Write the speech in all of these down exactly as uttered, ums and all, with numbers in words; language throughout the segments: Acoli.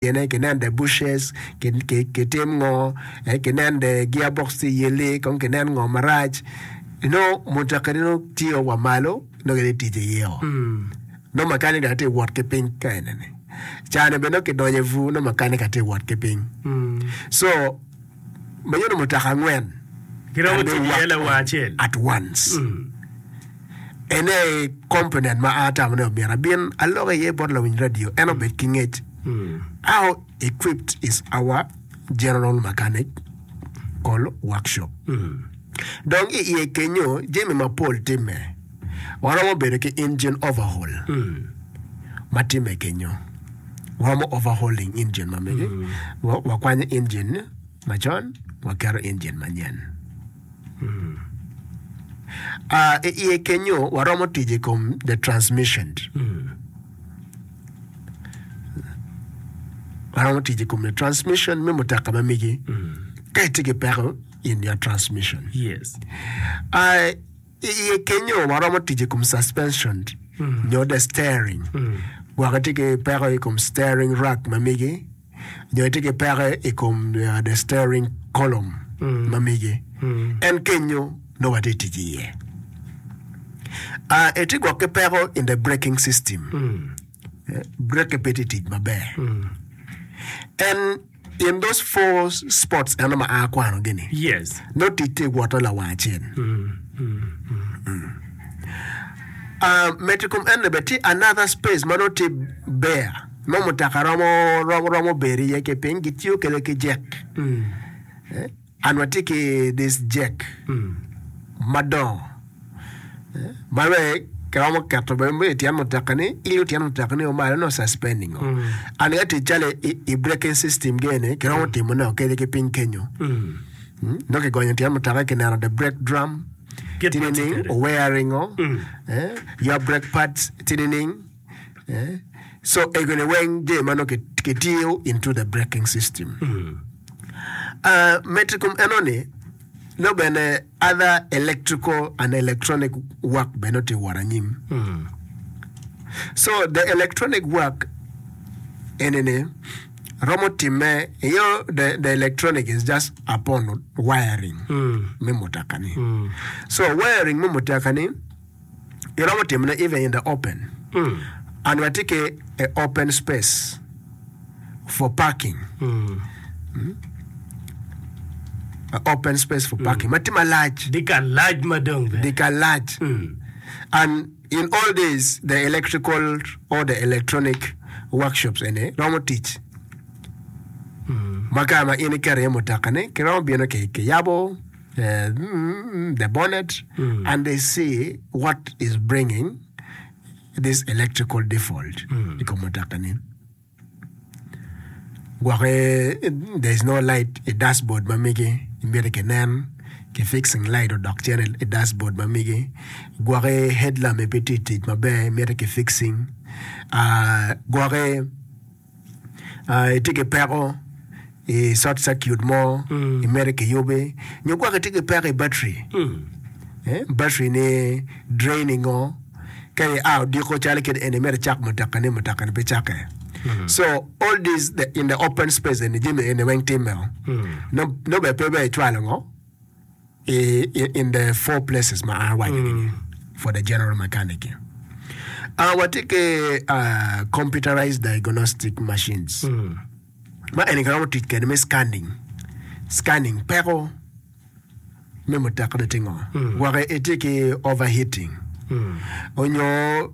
Tyene kinen the bushes, kitim ngo, kinen the gear box tye yelli, kong kinen ngo marac. Nongo mutoka ni nongo tye wa malo nongo gitye tic iye o. Nongo makanika tye wot ki piny ka enini. Cani bene nongo kidonyo i bur nongo makanika tye wot ki piny. So ma yeno mutoka angwen Giromo can be tic iye worked lawang on acel. at once. Ene aye component ma an atamo ni omyero abin alok iye bot lawiny radio en obed ki ngec how equipped is our general mechanic call workshop. Dong i iye kenyo jami mapol timme. Waromo bedo ki engine overhaul ma timme kenyo. Waromo overhauling engine ma megi. Wakwanyo engine macon waketo engine manyen. I iye kenyo waromo tic i kom the transmission. Waromo tic i kom the transmission me mutoka ma megi ka itye ki peko in your transmission. Yes. I iye kenyo waromo tic i kom suspension nyo the steering. Gwok itye ki peko i kom steering rack ma megi. Nyo itye ki peko i kom the steering column ma megi, en kenyo nongo watye tic iye. Itye gwok ki peko in the braking system, brake pe tye tic maber. En in those four spots eno ma a akwano gi ni, Yes. nongo tic tye woto lawang acel. Medo i kom eno bene tye another space ma nongo tye bare ma mutoka romo romo bedo iye ki piny gitiyo kwede ki jek and watye ki this jek madongo ma bene kiromo keto bene i tyen mutoka ni ilo tyen mutoka ni malo nongo suspending o and ka tic calo i braking system gi eni kiromo timo ne kede ki piny kenyo nongo kigonyo tyen mutoka kineno the brake drum Kit tye ma tye nining kwede. owearing o your brake pads tye nining so egoni weng jami ma nongo kitiyo into the braking system. Medo i kom enoni nongo bene other electrical and electronic work bene nongo tye ka wot anyim. So the electronic work enini romo timme iyo the, the electronic is just upon wiring me mutoka ni. So wiring me mutoka ni iromo timone even in the open and watye ki a open space for parking a open space for parking ma tye malac Dye kal lac ma dong bene. dye kal lac and in all days the electrical or the electronic workshops eni romo tic ma kare ma in iketo iye mutoka ni kiromo bino ki kiyabo the bonnet and they see what is bringing this electrical default i kom mutoka ni. Gwoki there is no light i dashboard ma megi imito kinen ki fixing light odok cen i dashboard ma megi gwoki headlamp pe tye tic maber imito ki fixing gwoki itye ki peko i short circuit mo imito kiyubi nyo gwok itye ki peko i battery battery ni draining o ka ia odiko calo kit eni imito icak mutoka ni mutoka ni pe cake so all this in the open space eni jami eni weng time o nongo bene pe bene icwalo ngo in the four places ma an awaco ni for the general mechanic uh, watye ki uh, computerized diagnostic machines ma eni kiromo tic kwede me scanning scanning peko me mutoka ni tye ngo gwok itye ki overheating onyo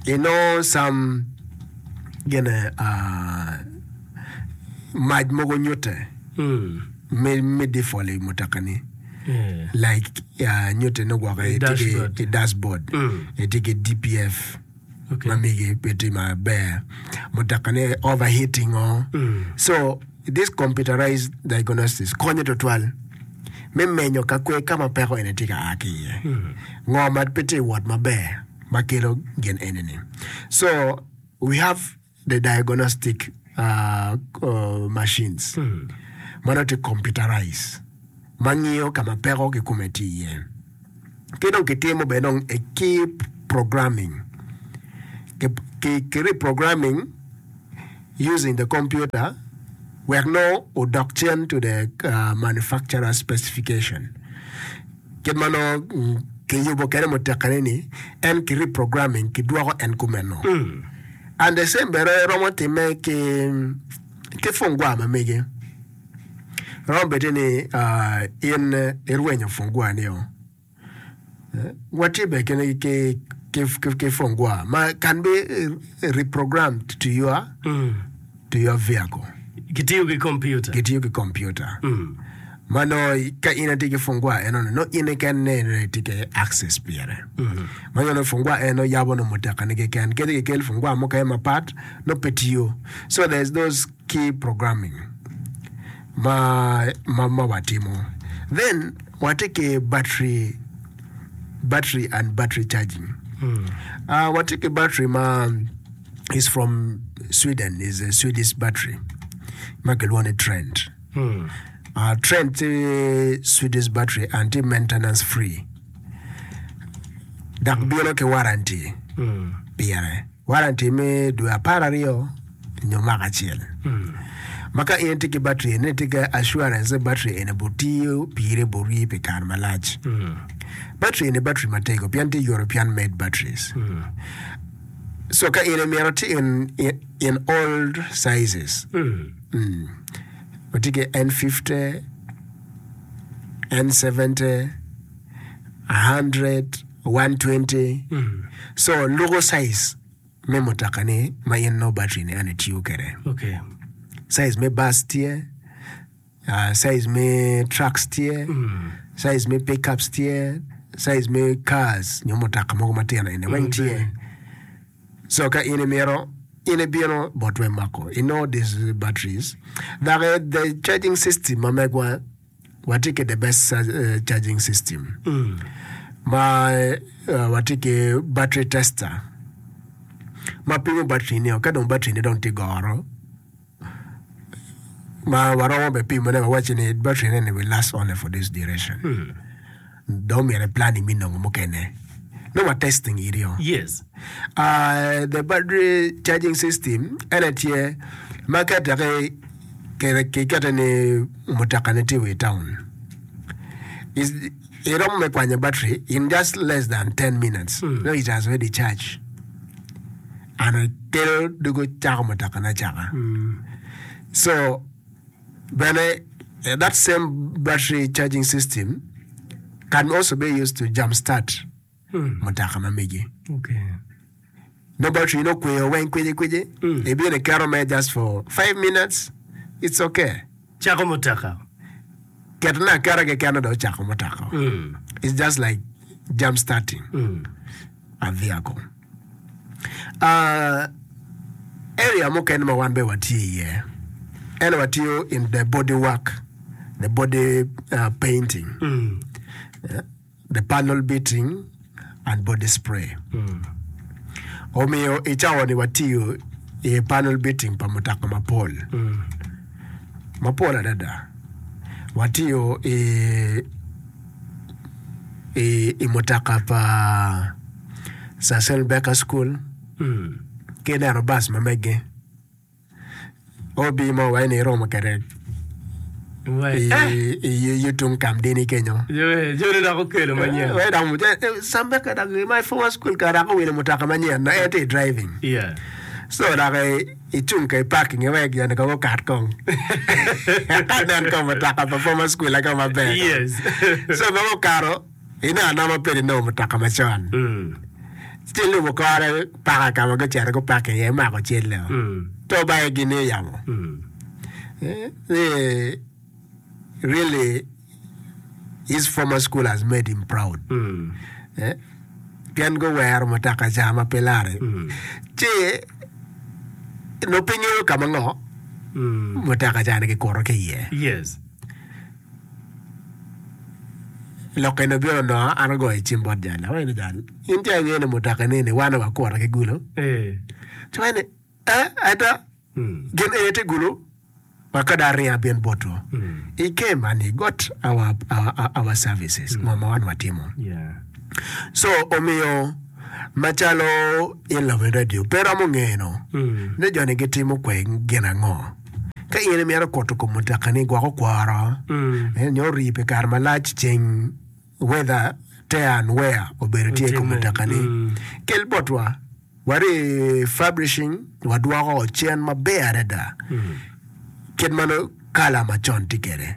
inongo some gine uh, mac mogo nyute me me default i mutoka ni like uh, nyute ni gwoke itye ki dashboard. i dashboard itye ki D P F Okay. Ma migi pe tye maber mutoka ni overheating o so this computerized diagnosis konyo tutwal me menyo ka kwe ka ma peko eni tye ka a ki iye ngo ma pe tye wot maber ma kelo gin eni ni. So we have the diagnostic uh, uh, machines ma nongo tye computerized ma ngiyo ka ma peko kikome tye iye ki dong kitimo bene dong e ki programming ki, ki, ki reprogramming. using the computer wek nongo odok cen to the uh, manufacturer specification. Kit ma nongo mm, kiyubo kwede mutoka-ni ni en ki reprogramming kidwoko en kumeno. And the same bene romo timme ki ki fungwa ma mege. Romo bedi ni uh, in irwenyo fungwa ni o. Watye bene ki, ki, ki, ki, ki fungwa ma can be eh, reprogrammed to your, to your vehicle. Gitiyo ki computer. Gitiyo ki computer. Ma nongo ka in itye ki fungwa eno ni nongo in keken ne itye ki access pire. Ma nongo fungwa eno yabo nongo mutoka ni keken. Kadi kikel fungwa mukene mapat nongo pe tiyo. So there's those key programming ma ma, ma watimo. Then watye ki battery battery and battery charging. Uh, watye ki battery ma is from Sweden, is a Swedish battery ma kilwongo ni Trent. Uh, Trent tye Swedish battery and tye maintenance free. Dok bino ki warranty pire. Warranty me dwe apar aryo nyo mwaka acel. Ma ka in itye ki battery eni itye ki assurance ni battery eni butiyo pire buri pi kare malac. Battery eni battery matego pien tye European made batteries. So ka in imito tye in, in, in all sizes. Mm. Watye ki N fifty, N seventy, a hundred, one twenty. So luko size me mutoka ni ma in nongo battery ni eno itiyo kwede. Okay. Size me bus tye, uh, size me trucks tye, size me pickups tye, size me cars nyo mutoka mogo matino eni weng tye. So ka in imito in ibino botwa imako i know these batteries. Dok eh, the charging system ma megwa watye ki the best uh, charging system. Ma uh, watye ki battery tester ma pimo battery ni ka dong battery ni dong tye goro ma waromo be pimone wawaci ni battery ni will last only for this duration. Dong myero planning me nongo mukene. No wa testing irio. Yes. Uh, the battery charging system ene tye ma kete ki kikete ni mutoka ni tye i town. Is iromo me kwanyo battery in just less than ten minutes. No, it has already charged. And kelo dugo cako mutoka na caka. So bene eh, that same battery charging system can also be used to jump start mutoka ma megi. Okay. No battery no kweyo weng kwiji kwiji. Ibino iketo me just for five minutes. It's okay. Cako mutoka. Keto na aketa keken dong ocako mutoka. It's just like jump starting a vehicle. Uh, area mukene ma wan be watye iye ene watiyo in the body work, the body uh, painting, Yeah, the panel beating and body spray. Omiyo i cawa ni watiyo i panel beating pa mutoka mapol. Mapol adada. Watiyo i i, i mutoka pa Sir Baker School ki neno bus ma mege. Obi mo wa ni iromo kede Wai. i, i, i tung Kamdini kenyo. Eh. Joni dok okelo manyen. We dok mu- eh, Sam Baker dok my former school ka dok owilo mutoka manyen na en tye driving. Yeah. So dok i icung ka i parking wek joni kong okat kong. Ka nen kong mutoka pa former school aka maber. Yes. So ma okato ineno anoma pedi nongo mutoka macon. Mm. Ci lubo kore paka ka ma gucito guparking iye mako celle. Mm. To bayo gini i yamo. Mm. Eh, eh, really his former school has made him proud. Mm. Eh, pien guwero mutoka ca ma pe lare. Ci no pe ngeyo ka ma ngo Mm. mutoka ca ni gikuto ki iye. Yes. Lok eni obino onongo an agoyo cim bot jal. Awaco ni jal, in ca ingeyo ni mutoka ni ni wan wakuto ki Gulu. Eh. Ci waco ni, eh, ada, Mm. gin eni tye Gulu, wa ka dong aringo abin botwu. Mm. He came and he got our, our, our, our services. Ngo ma wan watimo. Yeah. So omiyo Macalo in lawiny radio pe romo ngeno Mm. ni joni gitimo kwe gin ango. Ka in imito kuto kom mutoka ni gwoko kworo Mm. eh, nyo rii pi kare malac ceng weather tear and wear obedo tye i kom Otimme. mutoka ni Mm. kel botwa wari fabrishing wadwoko cen maber adada Mm. kit ma nongo kala macon tye kwede.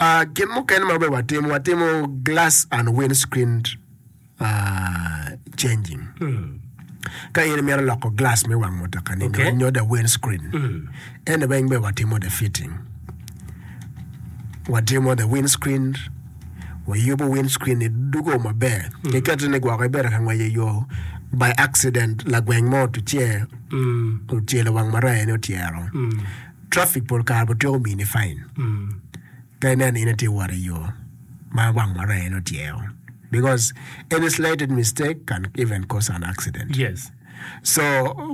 Uh, gin mukene ma bene watimo watimo glass and windscreen uh, changing Mm. ka in imito loko glass me wang mutoka ni Okay. nyo the windscreen Mm. ene weng bene watimo the fitting watimo the windscreen wayubo windscreen ni dugo maber kiketo ni gwoko ibedo ka ngwec i yo by accident lagweng mo otuce Mm. ocelo wang maraya ni otyero Mm. traffic pol kare otyeko mini fine Mm. ka ineno in itye wot i yo ma wang maraya ni otyero because any slighted mistake can even cause an accident Yes. so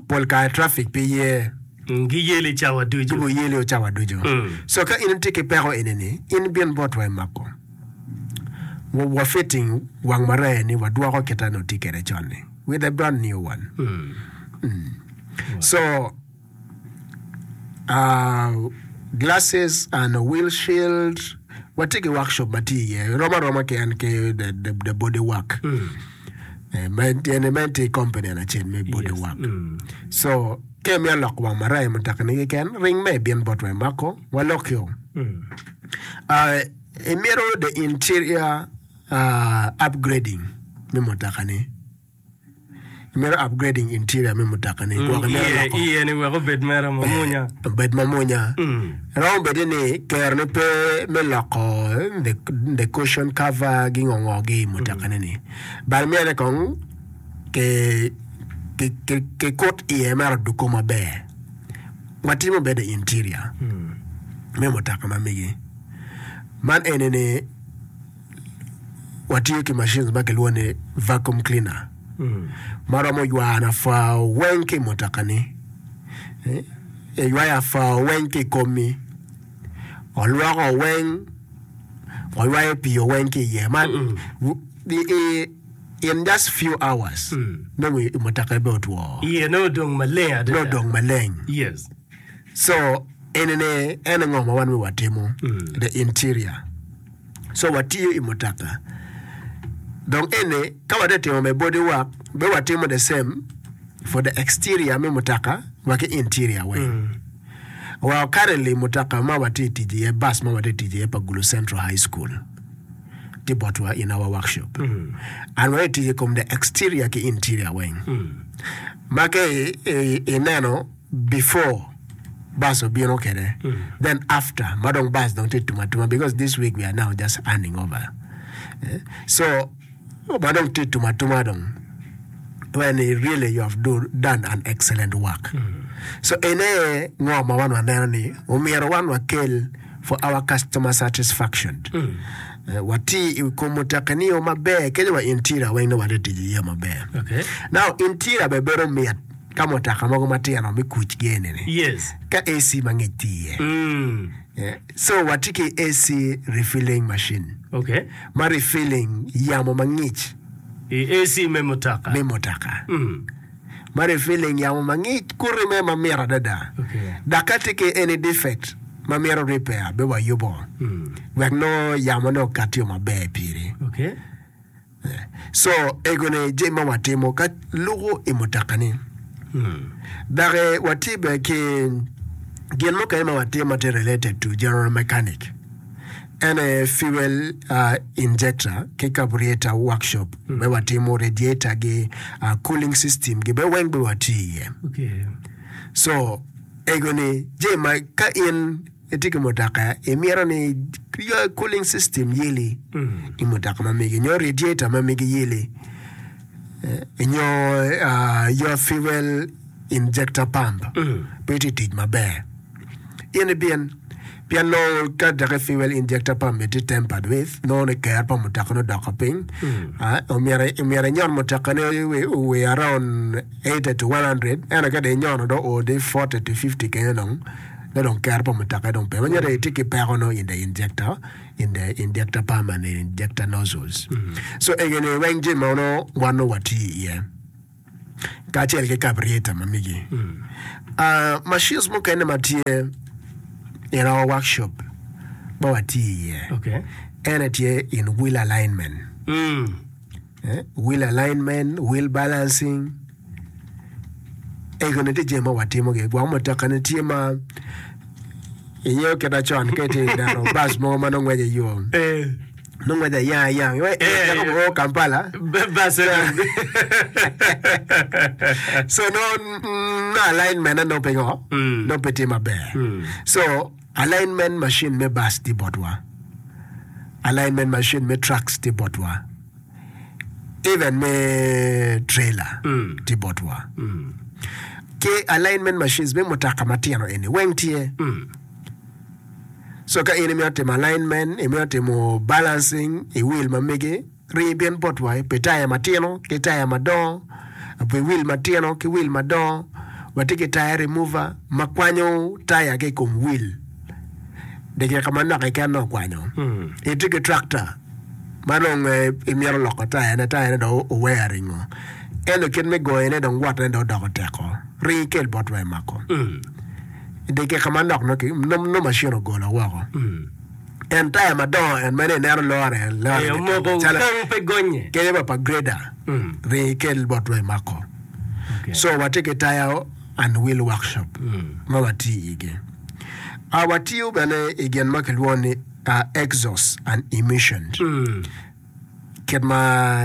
pol kare traffic pe ye Mm, Giyeli cawa ducu. Gibo yeli o cawa ducu Mm. so ka in itye ki peko eni-ni in bin botwa i mako wa, wa fitting wang maraya ni wadwoko kita ni otye kwede con-ni with a brand new one Mm. so uh, glasses and a wheel shield watye ki workshop ma tye iye rom aroma ki en ki the, the, the body work Mm. eh, ma en ma en tye company en acel me body Yes. work Mm. so ka imito loko wang maraya mutoka ni keken ring me ibin botwa i mako walokio Mm. uh, imito the interior uh, upgrading me mutoka ni imito upgrading interior me mutoka ni gwok imito Iye loko iye ni wek obed mere mamunya. obed mamunya Mm. romo bedi ni kero ni pe me loko the, the cushion cover gi ngo gi i mutoka ni ni but myero kong ki ki ki ki kut iye mere oduko maber watimo bedo interior Mm. me mutoka ma megi man eni ni watiyo ki machines ma kilwongo ni vacuum cleaner Mm. ma romo ywano afwa weng ki i mutoka ni Eh, eywayo afwa weng ki i komi olwoko weng oywayo pii weng ki iye man Mm. w- i- i- in just few hours Mm. nongo i- mutoka be otwo Iye no odong maleng adada. nongo odong maleng Yes. so enene en ngo ma wan we watimo Mm. the interior so watiyo i mutoka dong ene ka watye timo me body work be watimo the same for the exterior me mutoka wa ki interior weng Mm. well currently mutoka ma watye tic iye bus ma watye tic iye pa Gulu Central High School tye botwa in our workshop Mm. and watye tic i kom the exterior ki interior weng Mm. ma ka i- i- ineno before bus obino kwede Mm. then after ma dong bus dong tye tum atuma because this week we are now just handing over Eh, so ma dong tye tum atuma dong when really you have do, done an excellent work so ene ngo ma wan waneno ni omyero wan wakel for our customer satisfaction Mm. Eh, wati i kom mutoka ni yo maber kede wa interior weng nongo watye tic iye maber Okay. now interior be bedo mit ka mutoka mogo matino me kuc gi eni ni Yes. ka AC mangic tye iye Mm. Yeah. so watye ki AC refilling machine Okay. ma refilling yamo mangic I AC me mutoka. me mutoka Mm. ma refilling yamo mangic kuri me mamit adada Okay. dok ka tye ki any defect ma myero repair be wayubo Mm. wek nongo yamo ne okatio maber piri Okay. so egoni jami ma watimo ka luko i mutoka ni Mm. dok eh, watye bene ki gin mukene ma watimo ma tye related to general mechanic en aye fuel uh, injector ki carburetor workshop be watimo radiator gi uh, cooling system gi be weng be watye iye Okay. so egoni jami ma ka in itye ki mutoka imito ni your cooling system yeli Mm. i mutoka ma megi nyo radiator ma megi yeli eh, nyo uh, your fuel injector pump Mm. pe tye tic maber in ibin pien nongo ka dok fuel injector pump tye tampered with nongo ni ker pa mutoka ni odoko piny Mm. Ah, omyero omyero inyon mutoka ni we, we around eighty to one hundred ento ka dong inyono dong o di forty to fifty kenyo dong Nongo dong kero pa mutoka dong pe. Ma nyuto itye ki peko nongo in the injector, in the injector pump and the injector nozzles. So egi ni weng jami ma nongo wan nongo watiyo iye kacel ki carburetor ma megi. Ah, machines mukene ma tye in our workshop ma watiyo iye Okay. en aye tye in wheel alignment. Mm. Eh, wheel alignment, wheel balancing. Ego ni tye jami ma watimogi. Gwok mutoka-ni tye ma ingeyo kit macon ka itye ka neno bac mogo ma nongo ngweco i yo. Eh. Nongo ngweco ayang ayang. Eh, Cako eh. o Kampala. Ba- Bas eno. So nongo nongo alignment ne nongo pe ngo? Mm. Nongo pe tye maber. Mm. So alignment machine me bus tye botwa. Alignment machine me trucks tye botwa. Even me trailer Mm. tye botwa. Mm. Ki alignment machines me mutoka matino eni weng tye. Mm. So ka in imito timo alignment, imito timo balancing i wheel ma megi, rii bin botwa pi taya matino ki taya madongo, pi wheel matino ki wheel madongo, watye ki taya remover ma kwanyo taya ki i kom wheel. Dakika manok keken nongo okwanyo. Mm. Itye ki tractor ma dong eh, imito loko tayane, tayane dong owearingo. Ento kit me goyone dong wotone dong odoko teko. Ring ikel botwa i mako. Mm. Dakika manok nongo ki- nongo nongo machine ogolo woko. Mm. En taya madongo en meno ineno lore lore Eh, omoko calo kang pe gonye. kenyo ba pa grader Mm. ring ikel botwa i mako. Okay. So watye ki taya and wheel workshop Mm. ma watiyo igi. Uh, watiyo bene i gin ma kilwongo ni uh, exhaust and emissions. Mm. Kit ma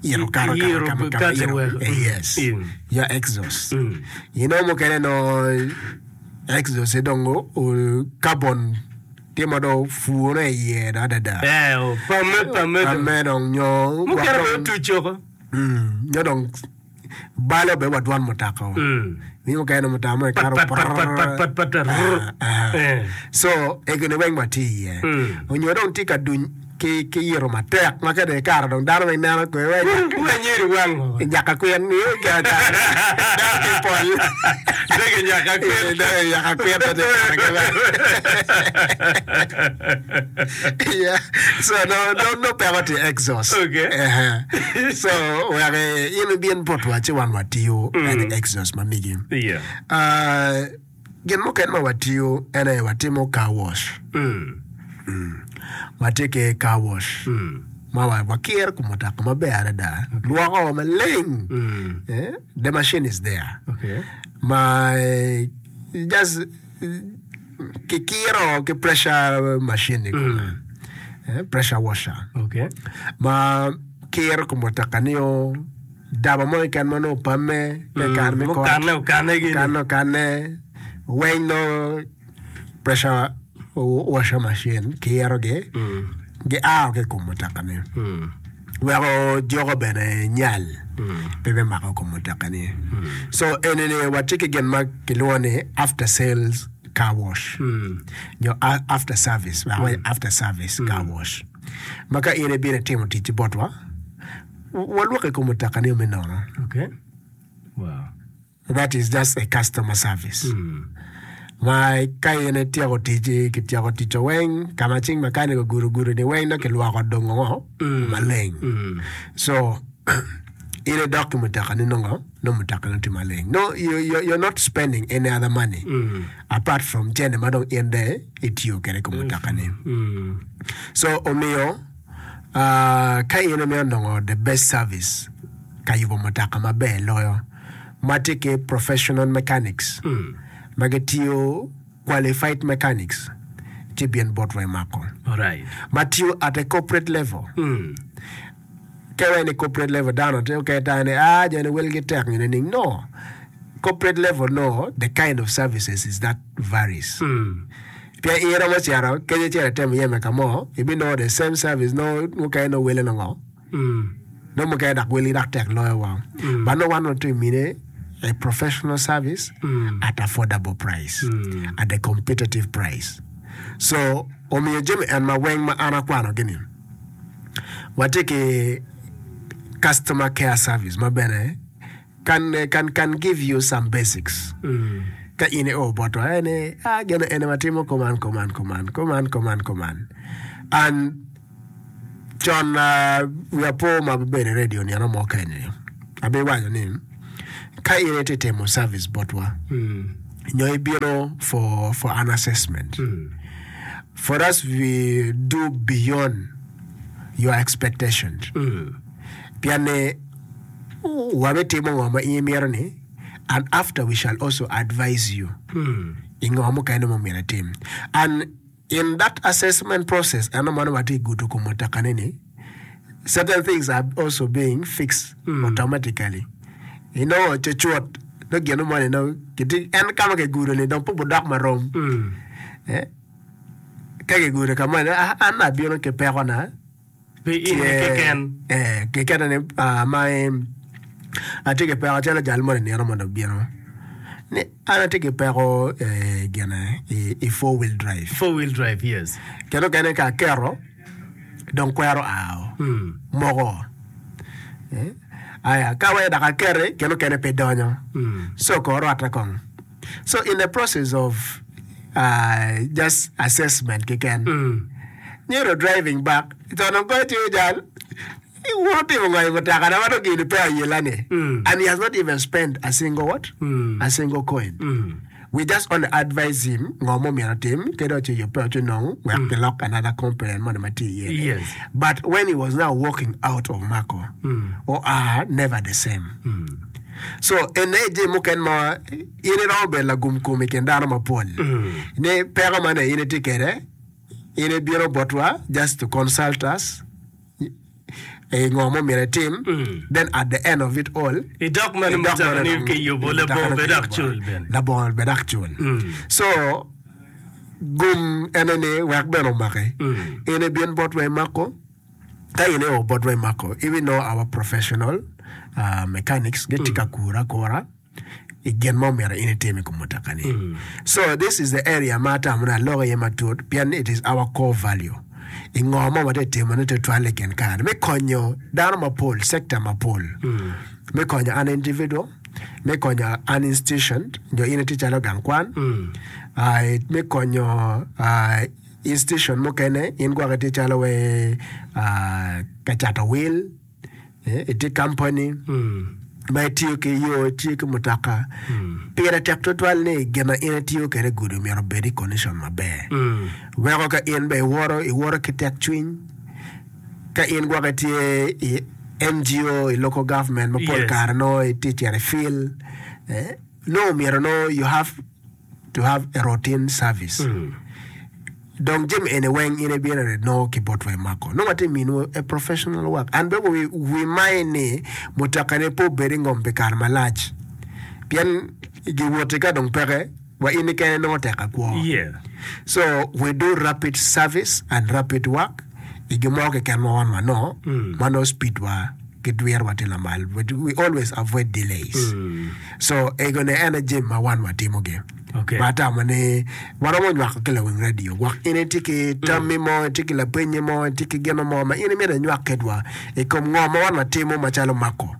yiro kato kato Yiro kama kama kato yiro. weko. Eh, yes. Mm. Ya exhaust. Mm. You know mukene no exhaust dong o, carbon tye ma dong opure iye dong adada. Eh, o, pame pame. Pame dong nyo Mukene gwok be dong- otuco ko. Mm, nyo dong balo be wa dwan mutoka. Mm. Ni mukene mutoka mo Pat ikato pat pat pat pat pat pat. rrr. Ah, ah. Eh. So egoni weng watye iye. Mm. Onyo dong tye ka duny ki ki yiro matek ma kede ikaro dong dano weng neno kwe we Wa nyeri wang. nyaka kwen ni dano ki pol. Dege nyaka kwen. Eh, dege nyaka kwen pe tye kare ki weng. Yeah. So no no no peko tye exhaust. Okay. Eh, So wek eh, in ibin botwa ci wan watiyo en exhaust ma migi. Yeah. Ah, gin mukene ma watiyo en aye watimo car wash. Mm. Watye ki car wash. Mm. Ma wa- wakiro kom mutoka maber adada. Lwoko maleng. Mm. Eh, The machine is there. Okay. Ma eh, just eh, kikiro ki pressure machine i kome. Eh, pressure washer. Okay. Ma kiro kom mutoka ni o daba mo keken ma nongo opame me kare me kot. Mukane okane gini. Okane okane weng nongo pressure washer machine kirogi Mm. gia ki i kom mutoka ni. Mm. Weko joko bene nyal Mm. pe me mako kom mutoka ni. So eni ni watye ki gin ma kilwongo ni after sales car wash. Mm. Nyo a- after service, wek awac after service car wash. Ma ka in ibino itimo ticci botwa, walwoko i kom mutoka ni me nono. Okay. Wow. That is just a customer service. Mm. Ma ka in ityeko ticci, kityeko ticco weng, ka ma cing makanik ogudo gudo ni weng dong kilwoko dongo ngo maleng. Mm. So in idok ki mutoka ni nongo, nongo mutoka ni tye maleng. No, you, you, you're not spending any other money Mm. apart from cene ma dong in de itiyo kwede i kom mutoka ni. Mm. So omiyo uh, ka in imito nongo the best service ka yubo mutoka maber loyo ma tye ki professional mechanics Mm. ma gitiyo qualified mechanics ci bin botwa i mako All right. ma tiyo at a corporate level Mm. ka iwaco ni corporate level dano tye okene tamo ni ah joni welgi tek nyo nining no corporate level no the kind of services is that varies Mm. pien in iromo cito kenyo icito itemo yeme ka mo ibinongo the same service no mukene no wele nongo Mm. no mukene dok welgi dok tek loyo wa Mm. but no wan watye mine a professional service Mm. at affordable price Mm. at a competitive price so omiyo jami en ma weng ma an akwano gini watye ki customer care service ma bene can, can, can give you some basics Mm. Ka in io botwa en ni ah gin eni watimo kuman kuman kuman kuman kuman kuman and con uh, wiya po ma abedo i radio nino mo keni abiwaco ni ka in itye timo service botwa nyo ibino for, for an assessment for us we do beyond your expectations pien ni wabitimo ngo ma in imito ni and after we shall also advise you i ngo mukene ma myero itim and in that assessment process eno mano watye gudo kom mutoka-ni ni certain things are also being fixed automatically inongo cucut nongo gino moni nongo kitye en ka ma kigudo ni dong pe budok marom eh ka kigudo ka moni ah, an abino ki pekona Pi in keken. eh kekene ni ah, ma atye ki peko calo jal moni nino mondo obino ni an atye ki peko eh, gine i, i four wheel drive Four wheel drive, yes. kendo kene ka aketo dong kwero ao moko eh? aya ka wai dok aketi kendo kene pe donyo so ko rwate kong so in the process of uh, just assessment keken nyero driving back to dong goyo tiyo jal iwuoto timo ngo i mutoka na ma dong gini pe ayela ni and he has not even spent a single what a single coin we just only advise him ngo mo myero otim kede oci yubbe oci nong wek kilok another component moni ma tye iye Yes. but when he was now walking out of Mako oa never the same so ene jami mukene ma in iromo bedo lagum kom i kin dano mapol ni peko mane in itye kwede in ibino botwa just to consult us i ngo mo myero itim then at the end of it all Idok mana idok mutoka mana ni dong- kiyubo mutoka labongo ni bed dok kiyubo. cul bene. labongo bed dok cul so gum ene ni wek bene omaki in ibin botwa imako ka in io botwa imako even know our professional uh, mechanics gitye ka kura akura i gin mo myero in itim i kom mutoka ni so this is the area ma atamo ni aloko iye matut pien it is our core value i ngo mo watye timone tutwal i kin kare me konyo dano mapol sector mapol me konyo an individual me konyo an institution nyo in itye calo gang kwan uh, me konyo uh, institution mukene in gwok itye calo we uh, ka cato wil eh, itye company ma itiyo ki yo itiyo ki mutoka pire tek tutwal ni gin ma in itiyo kwede gudo myero obed i condition maber weko ka in be iwoto iwoto ki tek cwiny ka in gwok itye i NGO i local government ma pol Yes. kare nongo itye cito i field eh, nongo myero nongo you have to have a routine service dong jami eni weng in ibino nongo ki botwa imako nongo watye miniwu a professional work and be wi, wi mai ni mutoka ni pe obed i ngom pi kare malac pien giwoti ka dong peke wa in kene nongo tek akwo Yeah. so we do rapid service and rapid work i gin mo keken ma wan wanongo ma nongo speed wa ki dwirwa tye lamal we, we always avoid delays so ego ne en aye jami ma wan watimogi Okay. ma atamo ni waromo nywako ki lawiny radio gwok in itye ki tammi mo itye ki lapenyi mo itye ki gino mo ma in imito inywak kedwa i kom ngo ma wan watimo macalo mako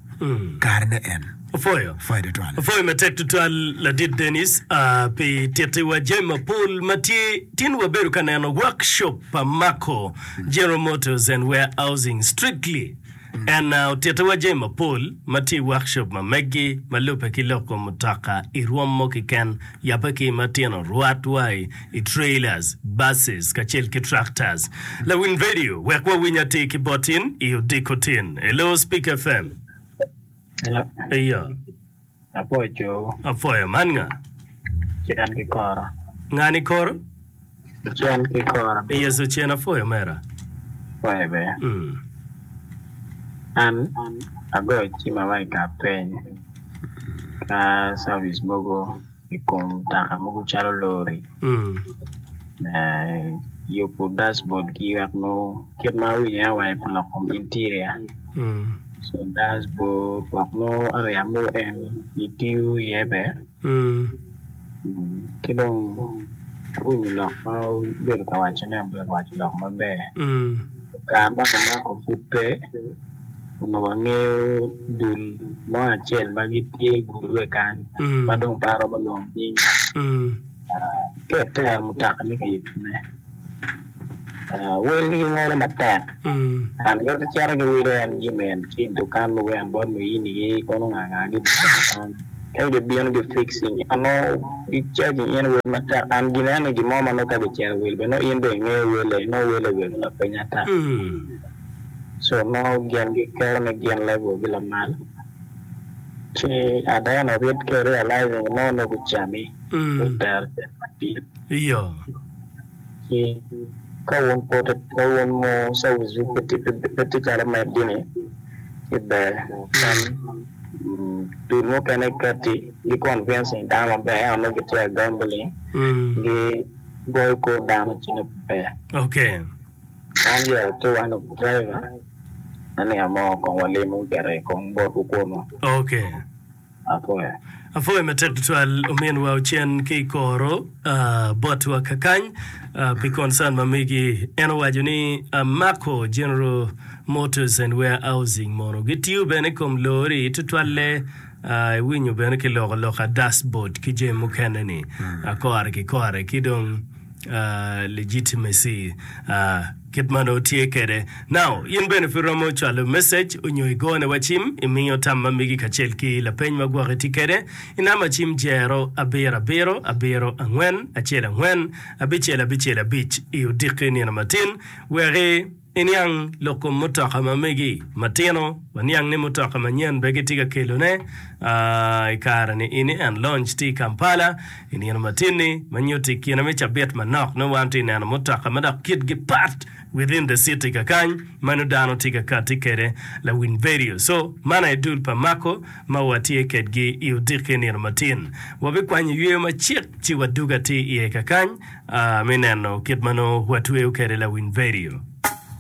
kare ne en Ofoyo. foyo tutwal Ofoyo matek tutwal ladit Dennis uh, pi titiwa jami mapol ma tye tin wabedo ka neno workshop pa Mako General Motors and Warehousing strictly and uh, otitiwa jami mapol ma tye i workshop ma megi ma lube ki loko mutoka i rwom mo keken yabe ki matino rwat wa i, i trailers buses kacel ki tractors lawiny radio wek wawiny atir ki botin i odiko tin hello Speak FM Hello. iyo Apoyo afoyo man nga cen ki koro. ngani koro Cen ki koro. Yes, ocen afoyo mera. Apoyo be. Mm. An agoyo cima wa i ka peny ka service mogo i kom mutoka mogo calo lori Mm. eh, yubo dashboard gi wek nongo kit ma awinyo en awaco pi lok kom interior Mm. so dashboard wek nongo area mogo en itiyo iye be Mm. Mm, ki dong awinyo lok ma obedo ka wacone obedo ka waco lok maber Mm. kare ma kimako pud pe Onongo wangeyo dul mo acel ma gitye i gurue kany Mm. ma dong pe aromo lwongo nying Mm. ka itero mutoka ni ka yubone welgi gingolo matek Mm. and gin gicito giwilo en jami en ki i dukan mogo en bot muyinigi kono nga nga gi ka gibino gi fixing nongo gicharging in wel matek and gin eni gin mo ma nongo ka gicito wil bene nongo in bene ingeyo wele nongo wele obedo lapiny ata Mm. so nongo gin giketo ni gin level gi lamal ci at the end of it ka realizing nongo nongo gucami Mm. gutero cente madit Iyo. ci ka wun pud ka wun mo service wu pe tye pe tye calo medgi-ni ci ber en dul mukene kati gi convincing dano maber ento nongo gitye ka gambling Mm. gi goyo kor dano ci nongo pe ber Okay. an yero tye one of driver aniang mo kong walimo gire kong botwu kunu Okay. apoya Afoyo matek tutwal ominwa ocen ki koro uh, botwa kakany uh, pi concern ma megi en owaco ni uh, Mako General Motors and Warehousing mono gitiyo bene i kom lori tutwalle uh, iwinyo bene ki loko loka dashboard ki jami mukene ni uh, kore ki kore ki dong uh, legitimacy uh, kit ma nongo tye kede now in bene pud romo cwalo message onyo igone wa cim imiyo tam ma megi kacel ki lapeny ma gwoki tye kede i namba cim jero abiro abiro abiro angwen acel angwen abicel abicel abic i odiki nino matin weki iniang lok kom mutoka ma megi matino waniang ni mutoka manyen be gitye ka kelone uh, i kare-ni ini en launch tye i Kampala i nino matin-ni ma nyuto i kine me cabit manok nongo wan tye i neno mutoka ma dok kitgi pat within the city kakany ma nongo dano tye ka kati kede lawiny vedio so man aye dul pa Mako ma watye kedgi i odiki nino matin wabikwanyo yweyo macek ci waduga tye iye kakany uh, me neno kit ma nongo watweyo kede lawiny vedio.